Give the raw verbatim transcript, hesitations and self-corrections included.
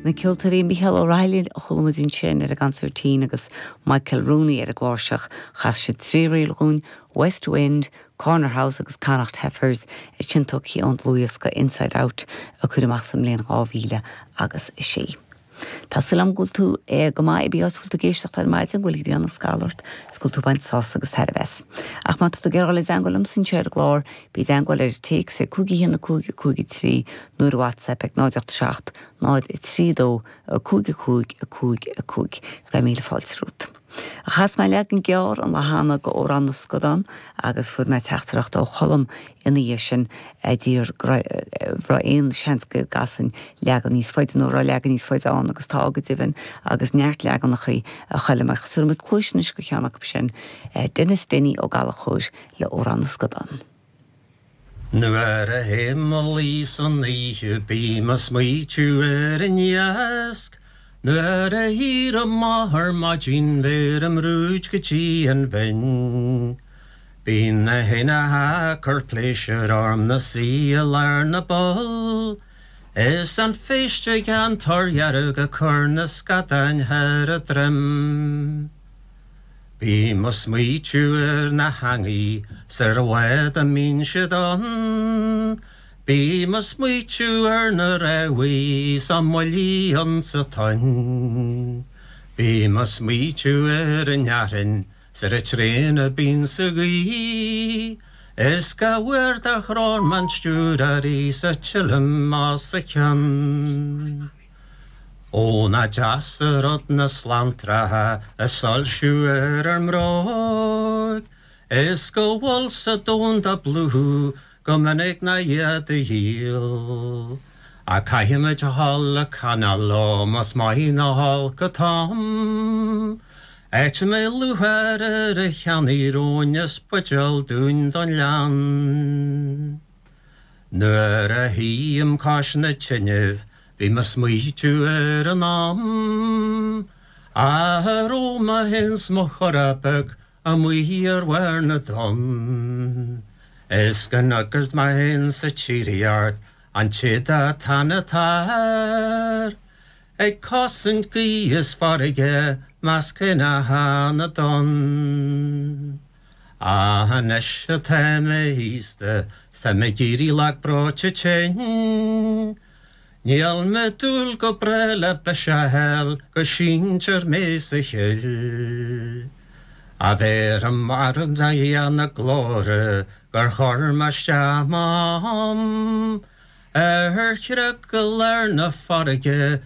Na ceoltóirí Micheál O'Reilly a chuala muid ansin ar an gconsairtín agus Michael Rooney ar an gcláirseach chas siad trí ríl dúinn, West Wind, Corner House agus Connacht Heifers sin tógtha ón dlúthdhiosca Inside Out a cuireadh amach sa mbliain dhá mhíle agus a sé. Tá súil agam go bhfuil tú é go maith bí bhfuil tú ag éisteacht ar maidin bhfuil an scalort scúil tú baint sás agus tairbhe. Ach má tá tú ag iarraidh dul i dteagmháil liomsa ar an gclár bí i dteagmháil ar téacs ag cúig haon cúig cúig trí nó WhatsApp ag náid seacht náid trí dó cúig cúig cúig cúig. Is beidh míle fáilte romhat. Chas mé leagan gearr an lá cheana d'Amhrán na Scadán agus fuair mé teachtaireacht ó Cholm ina dhiaidh sin a d'iarr raibh aon seans go gcasfainn leagan níos faide nó raibh leagan níos faide ann agus tá go deimhin agus neart leaganacha a Choilm ach tabharfaidh muid cluas anois do cheann acu sin Denis Dinny Ó Gallchóir le Amhrán na Scadán. Nuair a théim a luí san oíche bím ag smaoitiú ar an iasc, Nuair a éirím amach ar maidin bheirim rúid go dtí an bhinn. Bíonn na héin ag cur pléisiúr orm 'na suí i lár na bpoll, Is an phéist gan tor dhearg ag cur na scadáin thar a droim. Bím ag smaoitiú ar na heangaí 's ar an bhád a mbíonn siad ann, Bím ag smaoitiú ar na rabhaidh 's a mbuillí ionsa tonn. Bím ag smaoitiú ar an fhearthainn 's ar an traein a bíonn sa ghaoth, Is go bhfuair do threoir man stiúir sa tilim as a ceann. Ó nach deas an rud na slantracha ag soilsiú ar ár mbróg, Is go bhfuil sa domhan ag plúchadh go minic ná iad a dhíol. A caithfimid a dhul ag coinneáil leo más maith nó olc an t-am. Áit a mbeidh lúcháir ar a cheannaigh róin is buidéal dúinn don leann. Nuair a shuím cois na tineadh bím ag smaoitiú ar an am, A raibh mé féin 's mo chara beag amuigh ar bharr na dtonn. Is go ndúirt mé féin sa tsíoraíocht an tíad tannatar, Ag cosaint gaoth is farraige measctha na dtonn. Ach anois atá mé aosta 's tá mé ag éirí lag breoite tinn. Níl mé ag dúil go breá le biseach a fháil go síntear mé sa chill. A bheirim ar a na glóire gur chuir mé isteach m'am, Ar chreag i lár na farraige